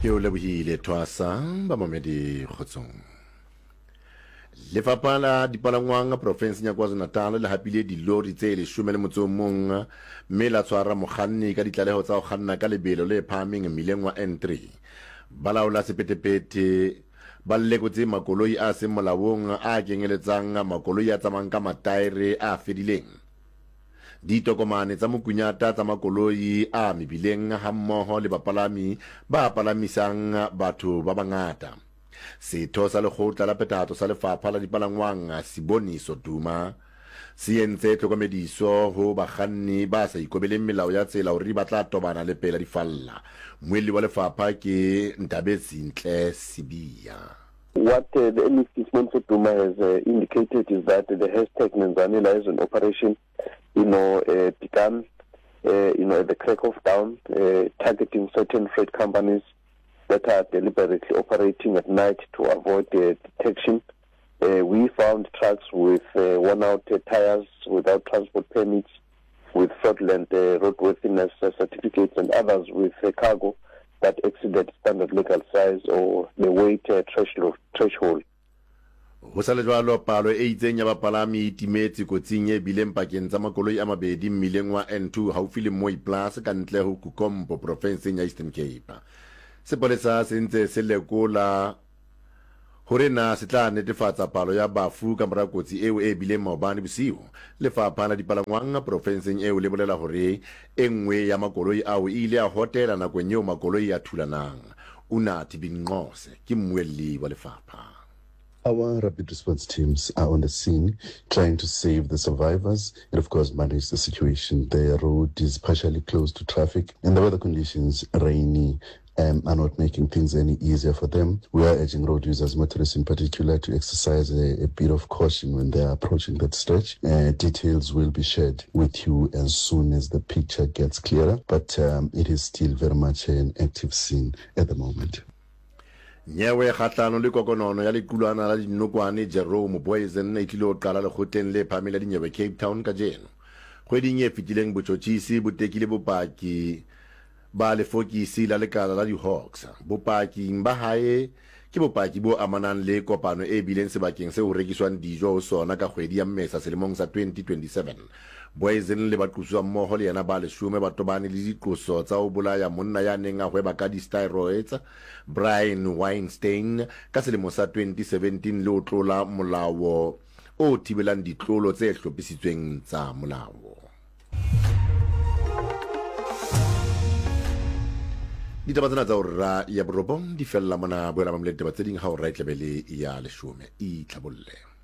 Ke o lebohile Thwasa ba mamedi kgotsong. Lefapha la dipalangwang profenseng ya KwaZulu-Natal le hapile dilori tse 11 mme la tshwara mokganni ka ditlaleho tsa ho kganna ka lebelo le phahameng mmileng wa N3. Balaola sephethephethe ba lekotse makoloi a seng molaong a kenyeletsang makoloi a tsamayang ka mataere a fedileng, ditokomane tsa mokunyata tsa makoloi a mebileng hammoho le bapalami ba palamisang batho ba bangata. Setho sa lekgotla la phethahatso sa lefapha la dipalangwang Siboniso Duma se entse tlhokomediso ho bakganni ba sa ikobeleng melao ya tsela hore ba tla tobana le pela difalla. Mmuelli wa lefapha ke Ntabetsintle Sibiya. What the MEC Siboniso Duma has indicated is that the hashtag Nenzani Liaison Operation, you know, began, you know, at the crack of dawn, targeting certain freight companies that are deliberately operating at night to avoid detection. We found trucks with worn-out tires, without transport permits, with fraudulent roadworthiness certificates, and others with cargo that exceeded standard legal size or the weight threshold. Ho sa le jwalo, palo e itseng ya bapalami e timetse kotsing e bileng pakeng tsa makoloi a mabedi mmileng wa N2 haufi le Mooiplaas ka ntle ho Kukompo profenseng ya Eastern Cape. Sepolesa se ntse se lekola hore na se tla netefatsa palo ya bafu ka mora kotsi eo e bileng maobane bosiu. Lefapha la dipalangwang profenseng eo le bolela hore e nngwe ya makoloi ao e ile ya hotela nakong eo makoloi a thulanang. Unathi Binqose ke mmuelli wa lefapha. Our rapid response teams are on the scene trying to save the survivors and of course manage the situation. The road is partially closed to traffic and the weather conditions, rainy, um, are not making things any easier for them. We are urging road users, motorists in particular, to exercise a, a bit of caution when they are approaching that stretch. Uh, details will be shared with you as soon as the picture gets clearer, but um, it is still very much an active scene at the moment. Nyewe kgahlano le kokonono ya lequlwana la dinokwane Jerome Boysen e tlilo qala lekgotleng le phahameng la dinyewe Cape Town kajeno. Kgweding e fetileng botjhotjhisi bo tekile bopaki ba lefokisi la lekala la di-Hawks. Bopaking ba hae ke bopaki bo amanang le kopano e bileng sebakeng seo ho rekiswang dijo ho sona ka kgwedi ya Mmesa selemong sa 2027. Boysen le baqosuwammoho le yena ba leshome ba tobane le diqoso tsa ho bolaya monna ya neng a hweba ka di-steroids, Brian Weinstein, ka selemo sa 2017 le ho tlola molao o thibelang ditlolo tse hlophisitsweng tsa molao. Ditaba tsena tsa hora ya borobong di fella mona. Boela mamele ditaba tse ding ha hora e tlabe le ya leshome. Itlhabolle.